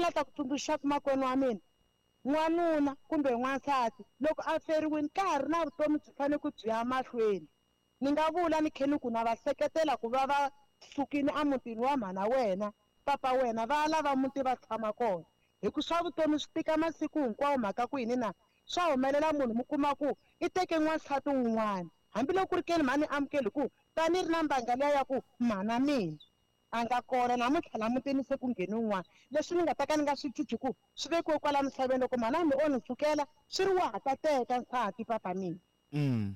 la ta ku tsundzuxaka makwenu wa mina, n'wanuna kumbe n'wansati loko a feriwini ka ha ri na vutomi byi fanele ku byi ya mahlweni. Ni nga vula ni khe ni ku na va seketela ku va va sukile emutini wa mhana wena, papa wena, va ya lava muti va tshama kona. Hi ku swa vutomi swi tika masiku hinkwawo mhaka ku yini na? Swa humelela munhu mi kuma ku i teke n'wansati wun'wana hambiloko ku ri keni mhani amukeli hi ku ta ni ri na mbanga liya ya ku mhana mina a nga kona namuntlha la mutini se ku ngheni un'wana. Leswi ni nga ta ka ni nga swi cinci ku swi vekiwe kwala misaveni loko mhana mi o ni sukela swi ri wa ha ta teka nsati papa mina.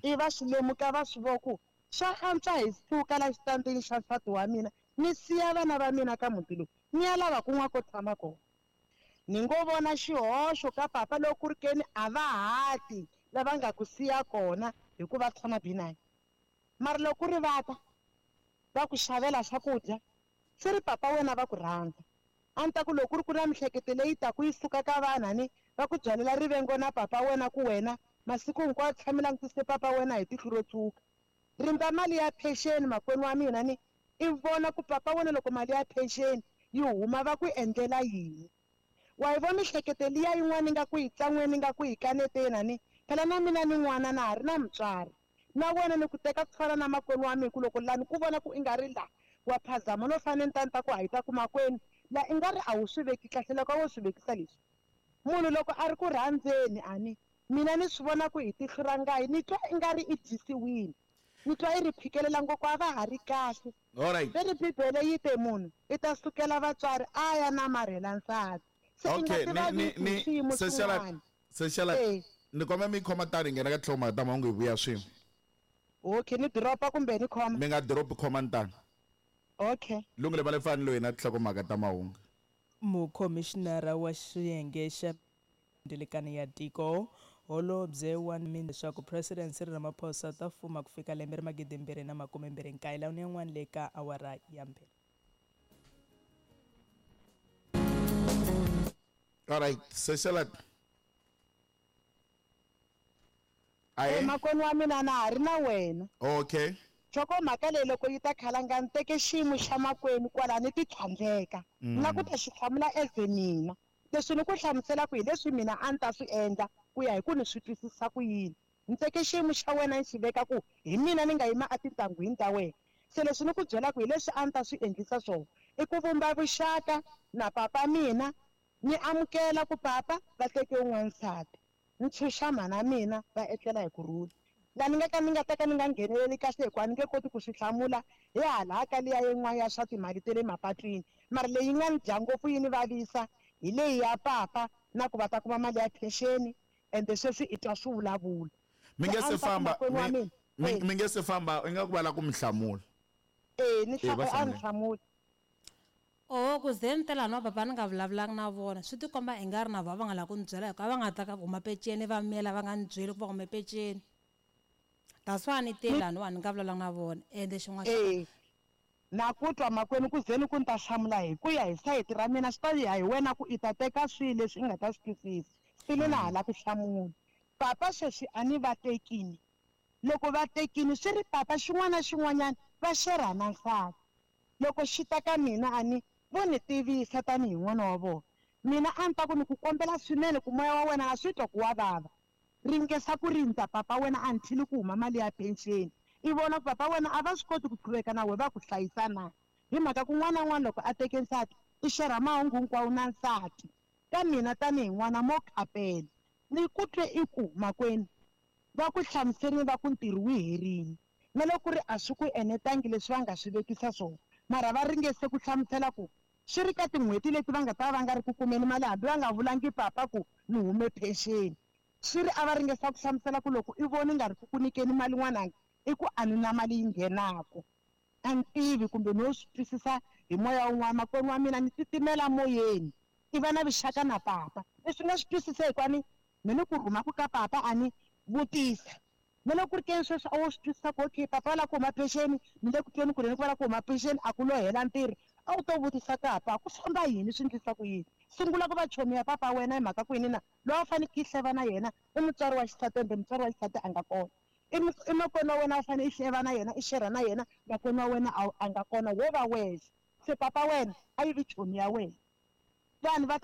I va swi lemuka va swi vo ku swa antswa hi suka la xitandini xa nsati wa mina ni siya vana va mina ka muti lowu ni ya lava kun'wana ko tshama kona. Ni ngo vona xihoxo ka papa loko ku ri keni a va hati lava nga ku siya kona hikuva tshama B9. Mara loko ku ri va ta va ku xavela swakudya swi ri papa wena va ku rhandza. A ni ta ku loko ku ri ku na mihleketo leyi taku yi suka ka vanhu ni va ku byalela rivengo na papa wena ku wena masiku hinkwawo tshami langutise papa wena hi tihlo ro tshuka. Rindza mali ya pension makwenu wa mina ni i vona ku papa wena loko mali ya pension yi huma va ku endlela yini. Wa yi vona mihleketo liya yin'wana nga ku yi tsan'weni nga ku yi kaneteni ni phela na mina ni n'wana na ha ri na mutswari. Na wena ni ku teka ku fana na makwenu wa mina ku loko lani ku vona ku i nga ri la wa phazama no fanele ni ta ni ta ku hayita ku makwenu la i nga ri a wu swi veki kahle loko a wo swi vekisa leswi. Munhu loko a ri ku rhandzeni ani mina ni swi vona ku hi tihlo ra ngayi ni twa i nga ri i dyisiwile. Ni twa i ri phikelela ngopfu a va ha ri kahle. Alright. Ve ri Bibele yi te munhu i ta sukela vatswari a ya namarhela nsati. Se i nga Okay, ti ni ni vavisi hi ni swiyimo Sesela swin'wana. Sesela Eh. ni komba mi khoma tani nghena ka tlhoma ta mahungu hi vuya swin'we. Okay, ni dropa kumbe ni khoma? Mi nga drop khoma ntanga. Okay. Lungile va le fani loyi na tinhlokomhaka ta mahungu. Mukhomishinara wa xiyenge xa Ndilikani ya tiko holobye wa leswaku President Cyril Ramaphosa ta fuma ku fika lembe ra 2029 lawa ni yan'wana le ka awara ya 2. Alright, Sesela. Aye. Makwenu wa mina na ha ri na wena. Okay. Nhlokomhaka leyi loko yi ta khalanga ni teke xiyimo xa makwenu kwala ni ti tlhandleka. Na ku ta xi hlamula as mina. Leswi ni ku hlamuselaka hi leswi mina a ni ta swi endla ku ya hi ku ni swi twisisa ku yini. Ni teke xiyimo xa wena ni xi veka ku hi mina ni nga yima etintangwini ta wena. Se leswi ni ku byelaka hi leswi a ni ta swi endlisa swona i ku vumba vuxaka na papa mina ni amukela ku papa va teke un'wana nsati. Ni tshunxa mhana mina va etlela hi kurhula. La ni nga ka ni nga ta ka ni nga ngheneleli kahle hikuva a ni nge koti ku swi hlamula hi hala ka liya yin'wana ya swa timali ta le mapatwini. Mara leyi nga ni dya ngopfu yi ni vavisa hi leyi ya papa na ku va ta kuma mali ya pension ende sweswi i twa swi vulavula. Mi nge Se a se ni ta ku famba makwenu wa mina. mi nge se famba i nga ku va la ku mi hlamula. Ni Eh, va a ni hlamula. hlamula. Oh, ku ze ni tela no papa ni nga vulavulanga na vona swi tikomba i nga ri na vona va nga lava ku ni byela hikuva va nga ta ka huma peceni va miyela va nga ni byeli ku va hume peceni. That's why ni te laniwa ni nga vulavulanga na vona ende xin'wana xa Na ku twa makwenu ku ze ni ku ni ta hlamula hi ku ya hi sayiti ra mina swi ta ya hi wena ku i ta teka swihi leswi i nga ta swi twisisa. Still na ha la ku hlamula. Papa sweswi a ni va tekini. Loko va tekini swi ri papa xin'wana na xin'wanyana va xerha na nsati. Loko xi ta ka mina a ni vo ni tivisa tanihi n'wana wa vona. Mina a ni ta ku ni ku kombela swinene ku moya wa wena a swi twa ku wa vava. Ringesa ku rindza papa wena until ku huma mali ya pension. I vona ku papa wena a va swi koti ku qhuveka na wena va ku hlayisa na. Hi mhaka ku n'wana na n'wana loko a teke nsati i xerha mahungu hinkwawo na nsati. Ka mina tanihi n'wana mo khapela. Ni ku twe i ku makwenu va ku hlamuserini va ku ntirho wu herile. Na loko ku ri a swi ku enetangi leswi va nga swi vekisa swona. Mara va ringese ku hlamusela ku swi ri ka tin'hweti leti va nga ta va nga ri ku kumeni mali hambi va nga vulangi papa ku ni hume pension. Swi ri a va ringesa ku hlamusela ku loko i voni nga ri ku ku nyikeni mali n'wananga i ku a ni na mali yi nghenaka. A ni tivi kumbe no swi twisisa hi moya wun'wana makwenu wa mina ni titimela moyeni. I va na vuxaka na papa. Leswi nga swi twisisa hikuva ni me ni ku rhuma ku ka papa a ni vutisa. Na loko ku ri keni sweswi a wo swi twisisa ku okay papa va lava ku huma pension ni le ku tweni ku ri ni ku va lava ku huma pension a ku lo hela ntirho. A wu to vutisa papa ku famba yini swi endlisa ku yini. Sungula ku va chomi ya papa wena hi mhaka ku yini na loyi a fanekele i hleva na yena i mutswari wa xisati ende mutswari wa xisati a nga kona. I makwenu wa wena a fanele i hleva na yena i xerha na yena makwenu wa wena a nga kona wo va wexe. Se papa wena a yi vi chomi ya wena. Vanhu va ta